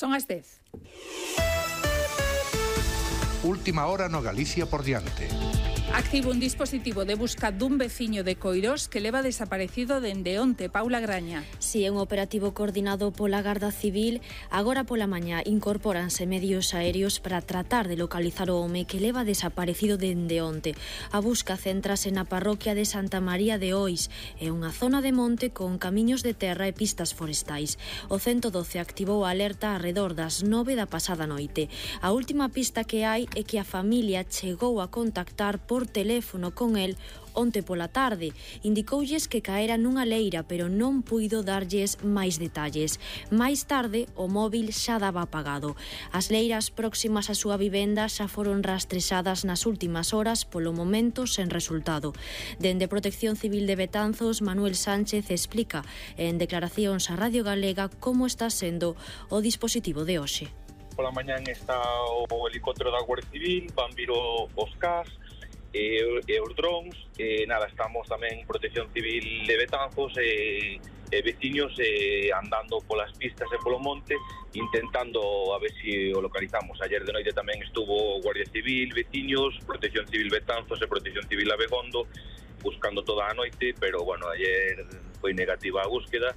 Son as 10. Última hora no Galicia por diante. Activo un dispositivo de busca dun veciño de Coirós que leva desaparecido dende onte. Paula Graña. Si é un operativo coordinado pola Garda Civil, agora pola mañá incorpóranse medios aéreos para tratar de localizar o home que leva desaparecido dende onte. A busca céntrase na parroquia de Santa María de Ois. É unha zona de monte con camiños de terra e pistas forestais. O 112 activou a alerta arredor das 9 da pasada noite. A última pista que hai é que a familia chegou a contactar por teléfono con el onte pola tarde. Indicoulles que caera nunha leira, pero non puido darlles máis detalles. Máis tarde, o móvil xa daba apagado. As leiras próximas á súa vivenda xa foron rastrexadas nas últimas horas, polo momento sen resultado. Dende Protección Civil de Betanzos, Manuel Sánchez explica en declaracións á Radio Galega como está sendo o dispositivo de hoxe. Pola mañán está o helicóptero da Guardia Civil, van vir os CAS, e os drones, estamos tamén en Protección Civil de Betanzos e veciños andando polas pistas e polo monte intentando a ver se o localizamos. Ayer de noite tamén estuvo Guardia Civil, veciños, Protección Civil Betanzos e Protección Civil Abegondo buscando toda a noite, pero bueno, ayer foi negativa a búsqueda.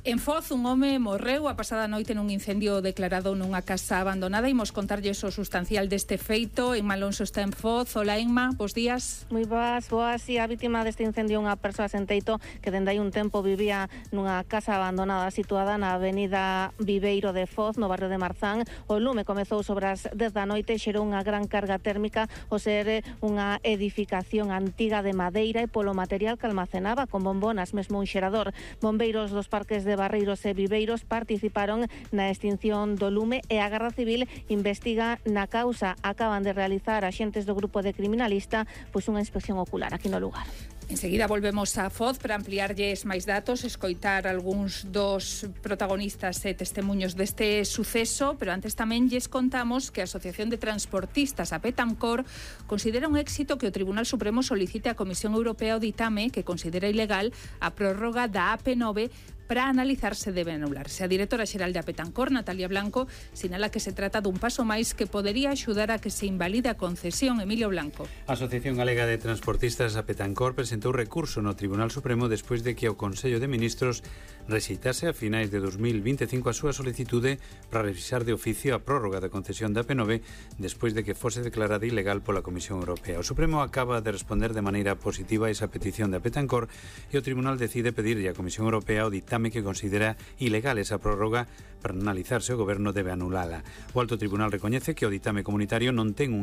En Foz, un home morreu a pasada noite nun incendio declarado nunha casa abandonada. Imos contarlles o sustancial deste feito. Inma Alonso está en Foz. Hola, Inma, bos días. Moi boas. A vítima deste incendio unha persoa sen teito que dende hai un tempo vivía nunha casa abandonada situada na avenida Viveiro de Foz, no barrio de Marzán. O lume comezou sobre as 10 da noite e xerou unha gran carga térmica ao ser unha edificación antiga de madeira e polo material que almacenaba con bombonas, mesmo un xerador. Bombeiros dos parques de Barreiros e Viveiros participaron na extinción do lume e a Garda Civil investiga na causa. Acaban de realizar axentes do grupo de criminalista unha inspección ocular aquí no lugar. Enseguida volvemos a Foz para ampliarlles máis datos, escoitar algúns dos protagonistas e testemunhos deste suceso, pero antes tamén lles contamos que a Asociación de Transportistas a Pétancor considera un éxito que o Tribunal Supremo solicite á Comisión Europea o ditame que considera ilegal a prórroga da AP9 para analizar se debe anularse. A directora xeral de Pétancor, Natalia Blanco, sinala que se trata dun paso máis que podería axudar a que se invalide a concesión. Emilio Blanco. A Asociación Galega de Transportistas a Pétancor presentou recurso no Tribunal Supremo despois de que o Consello de Ministros rexeitase a finais de 2025 a súa solicitude para revisar de oficio a prórroga da concesión da AP9 despois de que fose declarada ilegal pola Comisión Europea. O Supremo acaba de responder de maneira positiva a esa petición de Pétancor e o Tribunal decide pedirlle á Comisión Europea o ditame que considera ilegal esa prórroga para analizarse o Goberno debe anulala. O Alto Tribunal recoñece que o ditame comunitario non ten un